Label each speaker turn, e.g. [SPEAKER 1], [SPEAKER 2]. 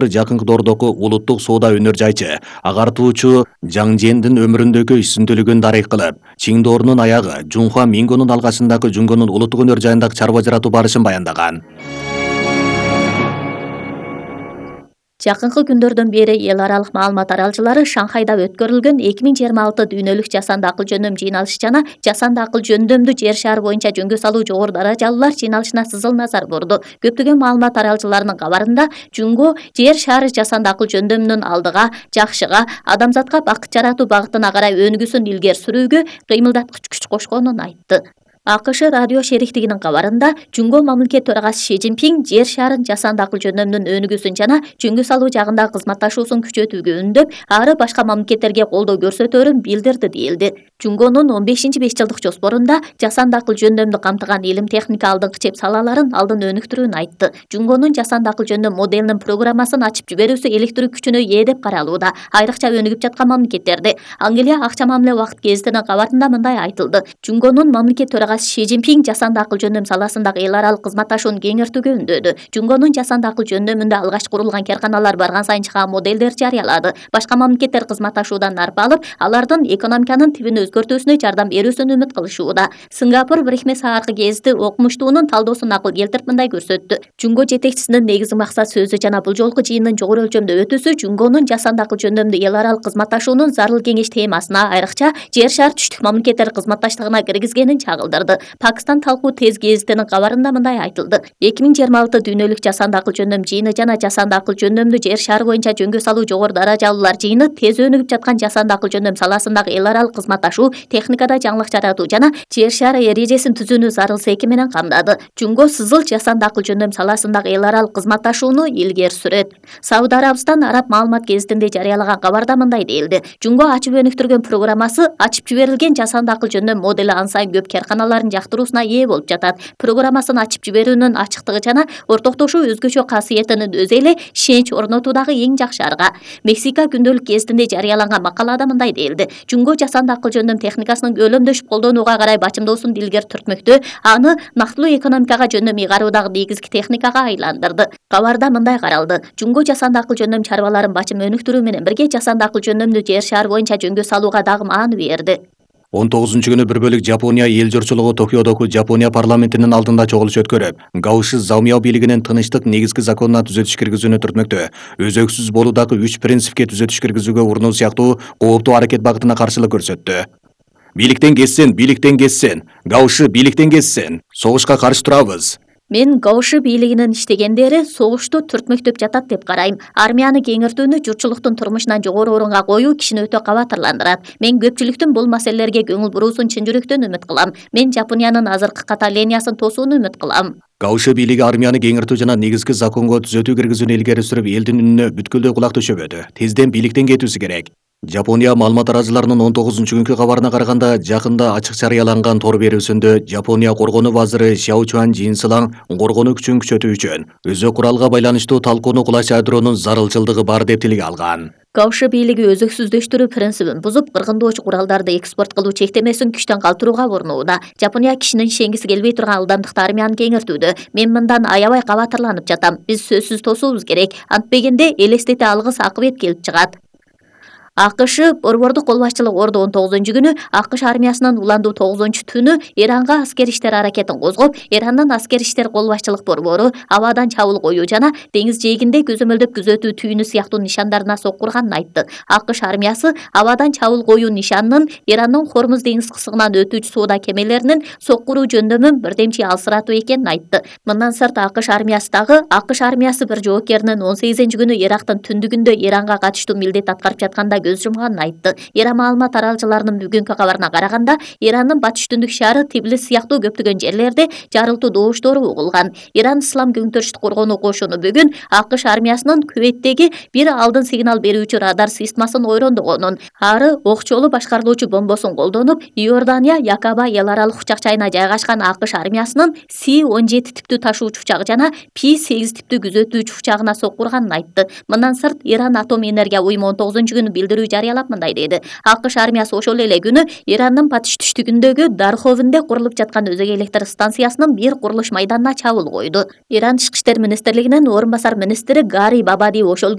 [SPEAKER 1] Жакынкы доордогу улуттук соода өнөр жайчы, агартуучу Жаң Жендин өмүрүндөгү үстүнчүлүгүн дарек кылып, Чиңдоорунун аягы Жунхуа Мингонун алгачындагы Жунгонун улуттук өнөр жайындагы чарба жаратуу барышын баяндаган.
[SPEAKER 2] Жакынкы күндөрдөн бери эл аралык маалымат таралчылары Шанхайда өткөрүлгөн 2026 дүйнөлүк жасанды акыл жөндөм жыйналышы жана жасанды акыл жөндөмдү жер шары боюнча жөнгө салуу жогору даражалуулар жыйналышына сызыл назар бурду. Көптөгөн маалымат таралчыларынын кабарында Жунго жер шары жасанды акыл жөндөмүнүн алдыга, жакшыга, адамзатка бакыт жаратуу багытына карай өнүгүүсүн илгери сүрүүгө кыймылдаткыч күч кошконун айтты. АКШ радио шериктигинин кабарында Жунго мамлекет төрагасы Ши Цзиньпин жер шарын жасанды акыл жөндөмүнүн өнүгүүсүн жана жөнгө салуу жагындагы кызматташуусун күчөтүүгө үндөп, ары башка мамлекеттерге колдоо көрсөтөөрүн билдирди дейилди. Жунгонун 15-5 жылдык жоспорунда жасанды акыл жөндөмдү камтыган илим техника алдыңкы чеп салаларын алдын өнүктүрүүнү айтты. Жунгонун жасанды акыл жөндөм моделинин программасын ачып жиберүүсү электрлик күчүнө ээ деп каралууда. Айрыкча өнүгүп жаткан мамлекеттерде Англия акча мамиле убакыт гезитинин кабарында мындай айтылды. Жунгонун мамлекет төрагасы Ши Цзиньпин жасанды акыл жөндөм саласындагы эл аралык кызматташууну кеңейтүүгө үндөдү. Жунгонун жасанды акыл жөндөмүндө алгач курулган карканалар барган сайын чыган моделдер жарыялады. Башка мамлекеттер кызматташуудан нарп алып, алардын экономиканын тибин өзгөртүүсүнө жардам берүүсүн үмүт кылышууда. Сингапур Брехме сааркы гезити окумуштуунун талдоосун акыл келтирип мындай көрсөттү. Жунго жетекчисинин негизги максат сөзү жана бул жолку жыйындын жогору өлчөмдө өтүүсү Жунгонун жасанды акыл жөндөмдү эл аралык кызматташуунун зарыл кеңеш темасына, айрыкча жер шар түштүк мамлекеттер кызматташтыгына киргизгенин чагылдырды. Пакистан талкуу тез гезитинин кабарында мындай айтылды. 2026 дүйнөлүк жасанды акыл жөндөм жыйыны жана жасанды акыл жөндөмдү жер шары боюнча жөнгө салуу жогору даражалуулар жыйыны тез өнүгүп жаткан жасанды акыл жөндөм саласындагы эл аралык кызматташуу, техникада жаңылык жаратуу жана жер шары эрежесин түзүүнү зарыл секи менен камдады. Жунго сызыл жасанды акыл жөндөм саласындагы эл аралык кызматташууну илгери сүрөт. Сауд Арабистан араб маалымат гезитинде жарыялаган кабарда мындай дейилди. Жунго ачып өнүктүргөн программасы ачып жиберилген жасанды акыл жөндөм модели ан сайын көп карканаларын жактыруусуна ээ болуп жатат. Программасын ачып жиберүүнүн ачыктыгы жана ортоктошуу өзгөчө касиетинин өзү эле ишенич орнотуудагы эң жакшы арга. Мексика күндөлүк гезитинде жарыяланган макалада мындай дейилди. Жунго жасанды акыл жөндөм техникасынын көлөмдөшүп колдонууга карай бачымдоосун илгери түртмөктө, аны нактылуу экономикага жөндөм ыйгаруудагы негизги техникага айландырды. Кабарда мындай каралды. Жунго жасанды акыл жөндөм чарбаларын бачым өнүктүрүү менен бирге жасанды акыл жөндөмдү жер шары боюнча жөнгө салууга дагы мааны берди.
[SPEAKER 1] 19-күнү бір бөлүк Жапония эл журтчулугу Токиодогу Жапония парламентинин алдында чогулуш өткөрүп, Гаоши Замяо бийлигинин тынычтык негизги законуна түзөтүш киргизүүнү түртмөктө. Өзөксүз болуудагы 3 принципке түзөтүш киргизүүгө урунуу сыяктуу кооптуу аракет багытына каршылык көрсөттү. Бийликтен кетсин, Гаоши бийликтен кетсин. Согушка каршы турабыз.
[SPEAKER 2] Мен Гаоши бийлигинин иштегендери согушту түртмөктөп жатат деп карайм. Армияны кеңиртүүнү журтчулуктун турмушунан жогору орунга коюу кишини өтө кабатырландырат. Мен көпчүлүктүн бул маселелерге көңүл буруусун чын жүрөктөн үмүт кылам. Мен Жапониянын азыркы ката линиясын тосууну үмүт кылам.
[SPEAKER 1] Гаоши бийлиги армияны кеңиртүү жана негизги законго түзөтүү киргизүүнү илгери сүрүп, элдин үнүнө бүткүлдөй кулак төшөбөдү. Тезден бийликтен кетүүсү керек. Жапония маалымат тараачыларынын 19-күnkү кабарына караганда, жакында ачык жарыяланган тор берүүсүндө Жапония коргонуу вазыры Шяо Чуан Жинсилаң коргонуу күчүн күчөтүү үчүн өзү куралга байланыштуу талкууну кулаш ядроонун зарылчылдыгы бар деп тилге алган.
[SPEAKER 2] Гаоши бийлиги өзөксүздөштүрүү принцибин бузуп, кыргындоочу куралдарды экспорт кылуу чектемесин күчтөн калтырууга урунууда. Жапония кишинин ишенгиси келбей турган ылдамдыкта армияны кеңиртүүдө. Мен мындан аябай кабатырланып жатам. Биз сөзсүз тосуубуз керек. Антпегенде элестете алгыс акыбет келип чыгат. АКШ Борбордук кол башчылык Ордо 19-күнү АКШ армиясынын уландуу 9-түнү Иранга аскер иштер аракетин козгоп, Ирандын аскер иштер кол башчылык борбору абадан чабуул коюу жана деңиз жээгинде көзөмөлдөп күзөтүү түйүнү сыяктуу нишандарына соккурганын айтты. АКШ армиясы абадан чабуул коюу нишанынын Ирандын Хормуз деңиз кысыгынан өтүүчү соода кемелеринин соккуруу жөндөмүн бирдемчи алсыратуу экенин айтты. Мындан сырт АКШ армиясы бир жоокеринин 18-күнү Ирактын түндүгүндө Иранга катыштуу милдет аткарып жатканда көз жумганын айтты. Иран маалымат таралчыларынын бүгүнкү кабарына караганда, Ирандын батыш түндүк шаары Тбилис сыяктуу көптөгөн жерлерде жарылтуу добуштору угулган. Иран Ислам көңтөрүштүк коргонуу кошуну бүгүн АКШ армиясынын Күвейттеги бир алдын сигнал берүүчү радар системасын ойрондогонун, ары окчолуу башкарылуучу бомбосун колдонуп, Иордания Якаба эл аралык учак жайына жайгашкан АКШ армиясынын С-17 типтүү ташуучу учагы жана P-8 типтүү күзөтүүчү учагына соккурганын айтты. Мындан сырт Иран атом энергия уюму 19-күнү билдирүү көрүү жарыялап мындай деди: АКШ армиясы ошол эле күнү Ирандын батыш түштүгүндөгү Дарховенде курулуп жаткан өзөк электр станциясынын бир курулуш майданына чабуул койду. Иран Тышкы иштер министрлигинин орун басар министри Гари Бабади ошол